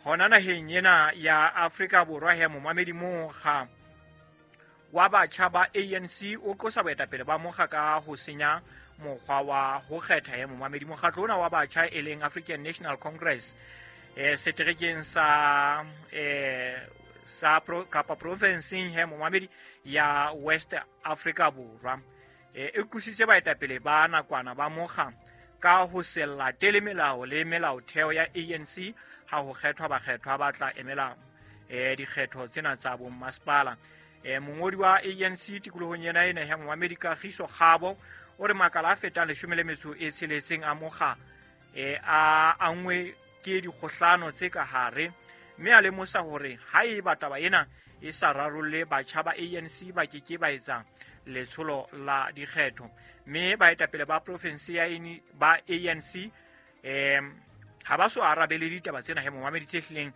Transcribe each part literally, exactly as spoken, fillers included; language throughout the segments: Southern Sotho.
Hona naheng ena ya Afrika Borwa he momamedi, mokga wa batjha ba A N C o qosa boetapele ba mokga ka ho senya mokgwa wa ho kgetha. He momamedi, mokgatlo ona wa batjha e leng African National Congress eh seterekeng sa eh sa pro, kapa provinseng he momamedi ya West Africa Borwa e e qositse baetapele ba nakwana ba mokga ka ho se latele melao le melaotheo ya A N C ha ho kgethwa bakgethwa ba tla emela eh dikgetho tsena tsa bommasepala. eh mongodi wa A N C tikolohong ena ena ya momamedi, Kagiso Kgabo, o re makala a fetang leshome le metso e tsheletseng a mokga eh a angwe ke dikgohlano tse ka hare, mme a lemosa hore haeba taba ena e sa rarolle, batjha ba A N C ba ke ke ba etsa letsholo la dikgetho. Mme baetapele ba province ya ba A N C um ha ba so arabele ditaba tsena he momamedi tse hlileng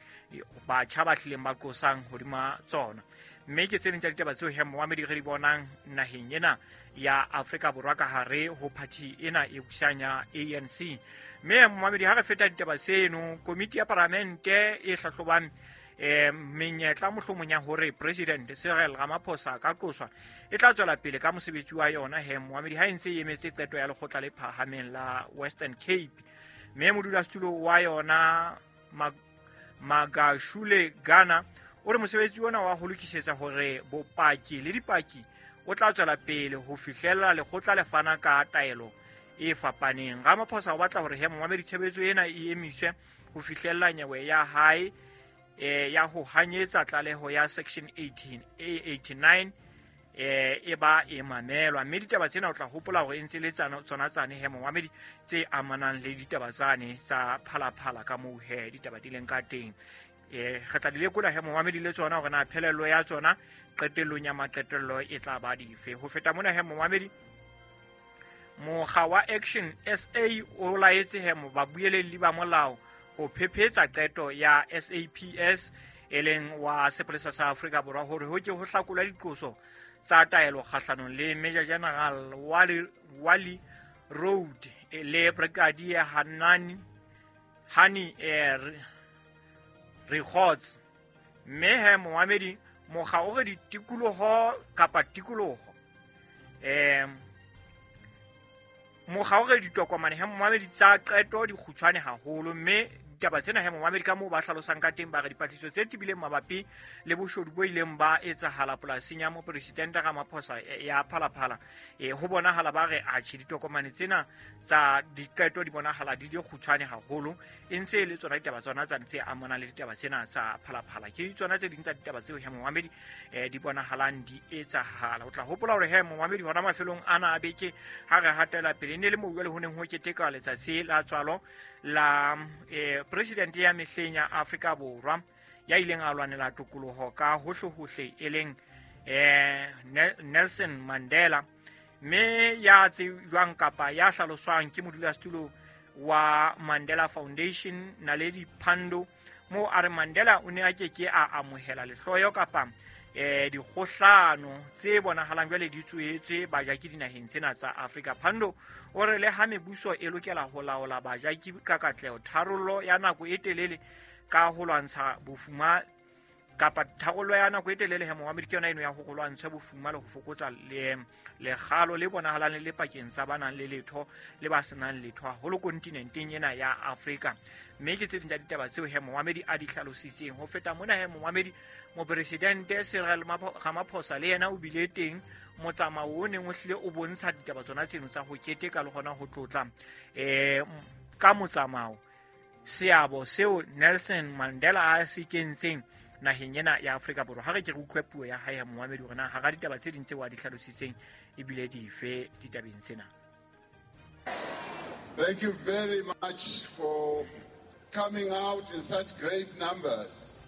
batjha ba hlileng ba qosang hodima tsona. Mme ke tse ding tsa ditaba tseo he momamedi re di bonang naheng ena ya Afrika Borwa ka hare ho party ena e busang ya A N C. Mme momamedi, ha re feta ditaba tseno, komiti ya paramente e hlahlobang eh menyetla mohlomong ya hore President Cyril Ramaphosa ka qoswa e tla tswela pele ka mosebetsi wa yona he momamedi, ha e ntse e emetse qeto ya lekgotla le phahameng la Western Cape. Mme modulasetulo wa yona, Magashule Gana, o re mosebetsi ona wa ho lokisetsa hore bopaki le dipaki o tla tswela pele ho fihlela lekgotla le fana ka taelo e fapaneng. Ramaphosa o batla hore he momamedi tshebetso ena e emiswe ho fihlella nyewe ya hae eh ya ho hanyetsa tlaleho ya section eighteen A eighty-nine eh e ba e mamelwa. Mme ditaba tsena o tla hopola hore e ntse le tsona tsane he momamedi tse amanang le ditaba tsane tsa Phalaphala, ka moo he ditaba di leng ka teng. eh re tla di lekola he momamedi le tsona hore na phelelo ya tsona qetellong ya maqetello e tla ba dife. Ho feta mona he momamedi, mokga wa Action S A o laetse he babuelelli ba molao ho phephetsa qeto ya S A P S e leng wa sepolesa sa Afrika Borwa hore ho ke ho hlakolwa diqoso tsa taelo kgahlanong le Major General Wally, Wally Rhoode le Brigadier Hanani Hani eh, Richards. Mme he momamedi, mokga o re ditikoloho kapa tikoloho um mokga o re ditokomane he momamedi tsa qeto di kgutshwane haholo. Mme ditaba tsena he momamedi, ka moo ba hlalosang ka teng, ba re dipatlisiso tse tebileng mabapi le boshodu bo ileng ba etsahala polasing ya mopresidente Ramaphosa ya Phalaphala, e ho bonahala ba re atjhe, ditokomane tsena tsa diqeto di bonahala di di kgutshwane haholo. E ntse e le tsona ditaba tsona tsane tse amanang le ditaba tsena tsa Phalaphala. Ke tsona tse ding tsa ditaba tseo he momamedi eh, di bonahalang di etsahala. O tla hopola hore he momamedi, hona mafelong ana a beke ha re hatela pele, ne le moo jwale ho neng ho keteka letsatsi la tswalo la eh, president ya mehleng ya Afrika Borwa ya ileng a lwanela tokoloho ka hohle-hohle, e leng eh, Nelson Mandela, mme ya tsejwang kapa ya hlaloswang ke modulasetulo wa Mandela Foundation, Naledi Pandor, moo a re Mandela o ne a ke ke a amohela lehloyo kapa eh dikgohlano tse bonahalang jwale di tsohetswe bajaki dinaheng tsena tsa Afrika. Pandor o re le ha mebuso e lokela ho laola bajaki ka katleho, tharollo ya nako e telele ka ho lwantsha bofuma kapa tharollo ya nako e telele he momamedi ke yona eno ya ho lwantsha bofuma le ho fokotsa le lekgalo le bonahalang le pakeng tsa ba nang le letho le ba senang letho haholo kontinenteng ena ya Afrika. Mme ke tse ding tsa ditaba tseo he momamedi a di hlalositseng. Ho feta mona he momamedi, mopresidente Cyril Ramaphosa le yena o bile teng motsamao o neng o hlile o bontsha ditaba tsona tseno tsa ho keteka le hona ho tlotla um ka motsamao seabo seo Nelson Mandela a se kentseng naheng ena ya Afrika Borwa. Ha re ke re utlwe puo ya hae ya momamedi hore na hara ditaba tse ding tseo a di hlalositseng ebile dife ditabeng tsena. Thank you very much for coming out in such great numbers.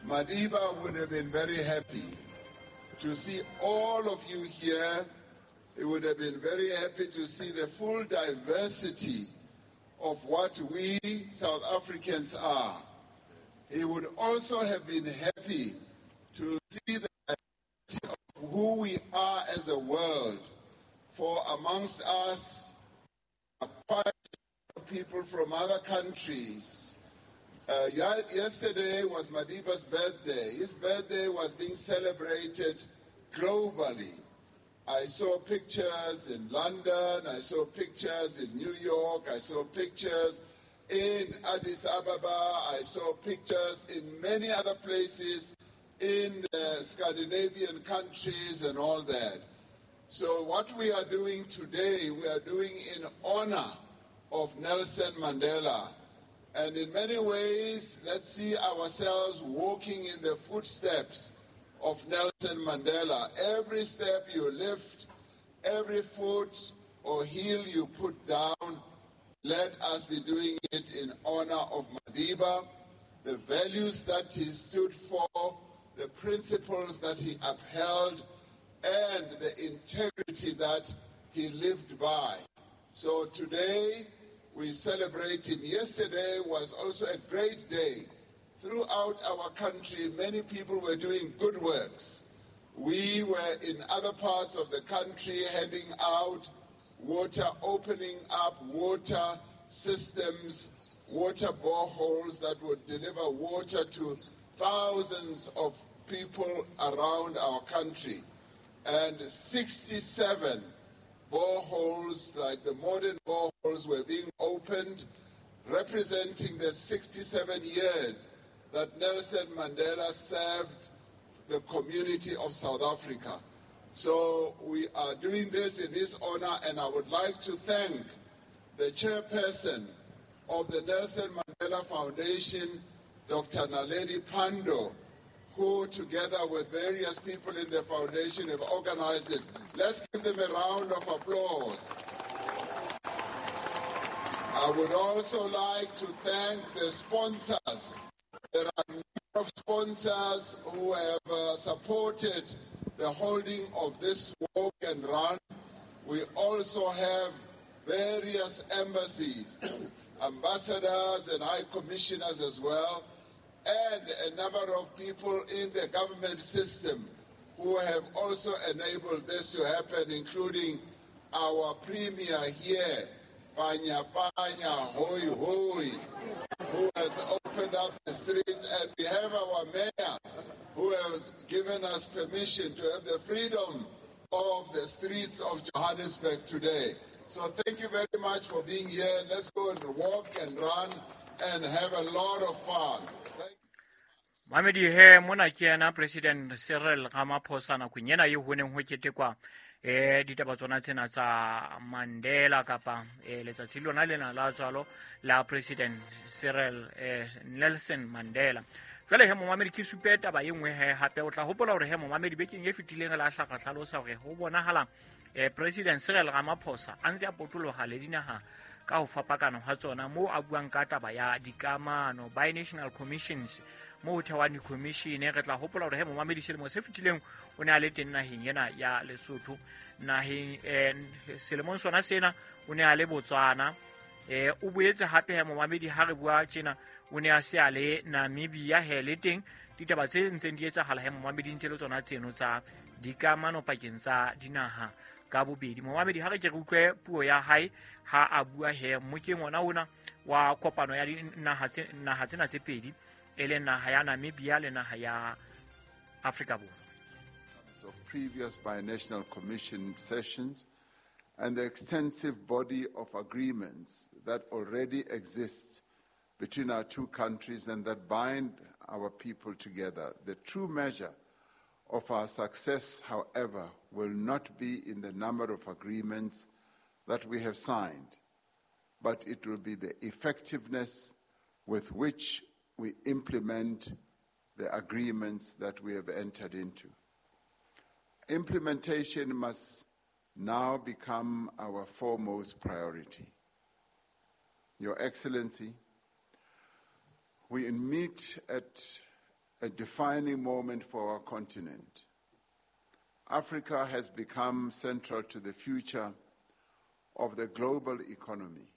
Madiba would have been very happy to see all of you here. He would have been very happy to see the full diversity of what we South Africans are. He would also have been happy to see the diversity of who we are as a world. For amongst us are quite people from other countries. Uh, yesterday was Madiba's birthday. His birthday was being celebrated globally. I saw pictures in London, I saw pictures in New York, I saw pictures in Addis Ababa, I saw pictures in many other places in the Scandinavian countries and all that. So what we are doing today, we are doing in honor of Nelson Mandela. And in many ways, let's see ourselves walking in the footsteps of Nelson Mandela. Every step you lift, every foot or heel you put down, let us be doing it in honor of Madiba, the values that he stood for, the principles that he upheld, and the integrity that he lived by. So today, we celebrate him. Yesterday was also a great day. Throughout our country, many people were doing good works. We were in other parts of the country handing out water, opening up water systems, water boreholes that would deliver water to thousands of people around our country. And sixty-seven boreholes, like the modern boreholes, were being opened, representing the sixty-seven years that Nelson Mandela served the community of South Africa. So we are doing this in his honor, and I would like to thank the chairperson of the Nelson Mandela Foundation, Doctor Naledi Pandor, who together with various people in the foundation have organized this. Let's give them a round of applause. I would also like to thank the sponsors. There are a number of sponsors who have uh, supported the holding of this walk and run. We also have various embassies, ambassadors and high commissioners as well, and a number of people in the government system who have also enabled this to happen, including our premier here, Panya Panya Hoi Hoi, who has opened up the streets, and we have our mayor who has given us permission to have the freedom of the streets of Johannesburg today. So thank you very much for being here. Let's go and walk and run and have a lot of fun. Mamedi he mona ke yena President Cyril Ramaphosa nakong ena eo ho neng ho ketekwa eh ditaba tsona tsena tsa Mandela kapa eh letsatsi lona lena la tswalo la President Cyril eh, Nelson Mandela. Jwale he momamedi ke supe taba e nngwe he hape o tla hopola hore he momamedi bekeng e fetileng re la hlaka hlalosa hore ho bonahala eh President Cyril Ramaphosa a ntse a potoloha le dinaha ka ho fapakana ha tsona moo a buang ka taba ya dikamano binational commissions mo ho thehwang di-commission. Re tla hopola hore he momamedi selemo se fetileng o ne a le teng naheng ena ya Lesotho, naheng eh, selemong sona sena o ne a le Botswana, eh, o boetse hape he momamedi ha re bua tjena o ne a se a le Namibia he le teng ditaba tse ntseng di etsahala he momamedi ntse le tsona tseno tsa dikamano pakeng tsa dinaha ka bobedi. Momamedi ha re ke re utlwe puo ya hae ha a bua he mokeng ona ona wa kopano ya dinaha tse naha tsena tse pedi e leng naha ya Namibia le naha ya Afrika Borwa. Of previous binational commission sessions and the extensive body of agreements that already exists between our two countries and that bind our people together. The true measure of our success, however, will not be in the number of agreements that we have signed, but it will be the effectiveness with which we implement the agreements that we have entered into. Implementation must now become our foremost priority. Your Excellency, we meet at a defining moment for our continent. Africa has become central to the future of the global economy.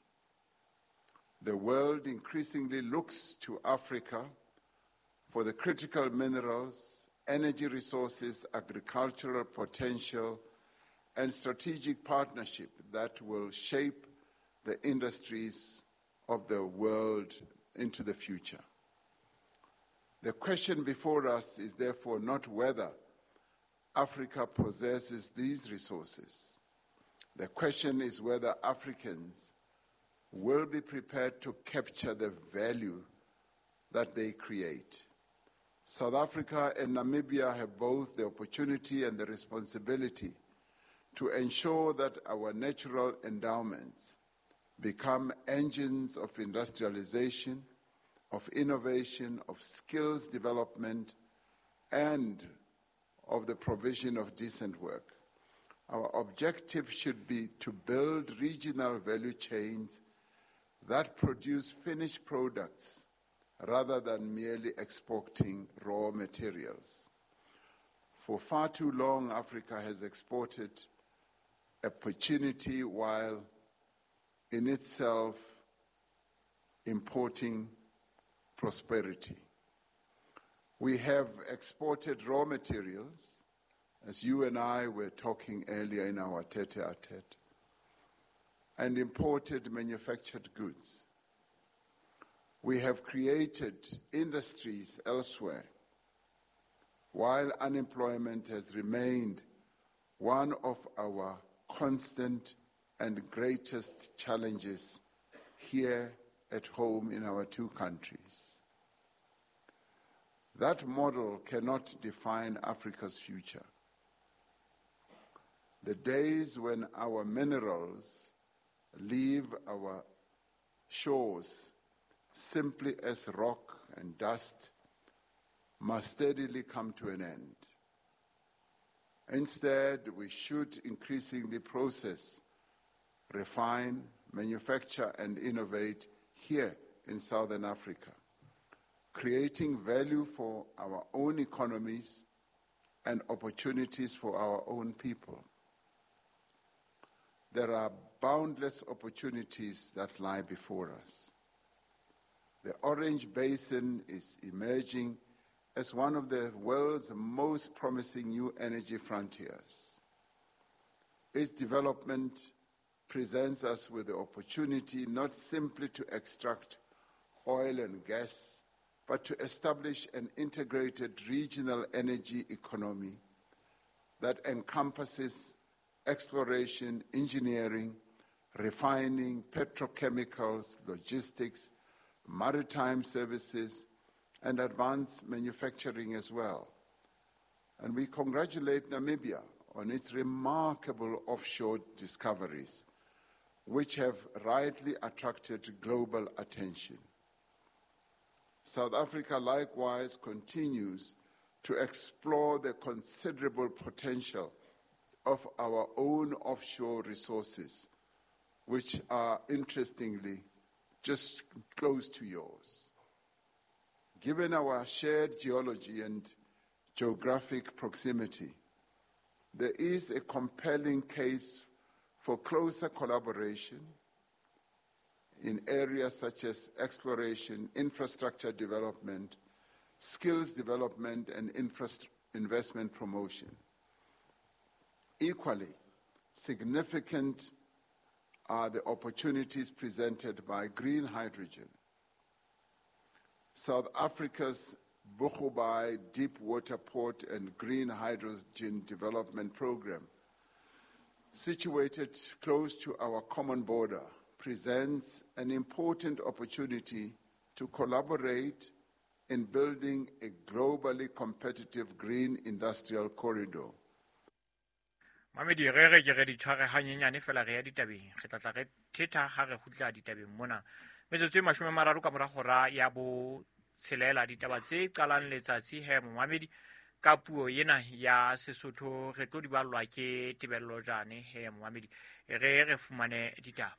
The world increasingly looks to Africa for the critical minerals, energy resources, agricultural potential, and strategic partnership that will shape the industries of the world into the future. The question before us is therefore not whether Africa possesses these resources. The question is whether Africans will be prepared to capture the value that they create. South Africa and Namibia have both the opportunity and the responsibility to ensure that our natural endowments become engines of industrialization, of innovation, of skills development, and of the provision of decent work. Our objective should be to build regional value chains that produce finished products rather than merely exporting raw materials. For far too long, Africa has exported opportunity while in itself importing prosperity. We have exported raw materials, as you and I were talking earlier in our tete-a-tete, and imported manufactured goods. We have created industries elsewhere, while unemployment has remained one of our constant and greatest challenges here at home in our two countries. That model cannot define Africa's future. The days when our minerals leave our shores simply as rock and dust must steadily come to an end. Instead, we should increasingly process, refine, manufacture, and innovate here in Southern Africa, creating value for our own economies and opportunities for our own people. There are boundless opportunities that lie before us. The Orange Basin is emerging as one of the world's most promising new energy frontiers. Its development presents us with the opportunity not simply to extract oil and gas, but to establish an integrated regional energy economy that encompasses exploration, engineering, refining, petrochemicals, logistics, maritime services, and advanced manufacturing as well. And we congratulate Namibia on its remarkable offshore discoveries, which have rightly attracted global attention. South Africa likewise continues to explore the considerable potential of our own offshore resources, which are interestingly just close to yours. Given our shared geology and geographic proximity, there is a compelling case for closer collaboration in areas such as exploration, infrastructure development, skills development, and infra- investment promotion. Equally significant are the opportunities presented by green hydrogen. South Africa's Boegoebaai Deep Water Port and Green Hydrogen Development Program, situated close to our common border, presents an important opportunity to collaborate in building a globally competitive green industrial corridor. Mamedi re re ke re di tshware hanyenyane fela re ya ditabeng re tla tla re thetha ha re kgutla ditabeng mona metsotso e mashome a mararo ka mora hora ya bo tshelela ditaba tse qalang letsatsi he momamedi ka puo ena ya Sesotho re tlo di ballwa ke Tebello Jane he momamedi re re fumane ditaba.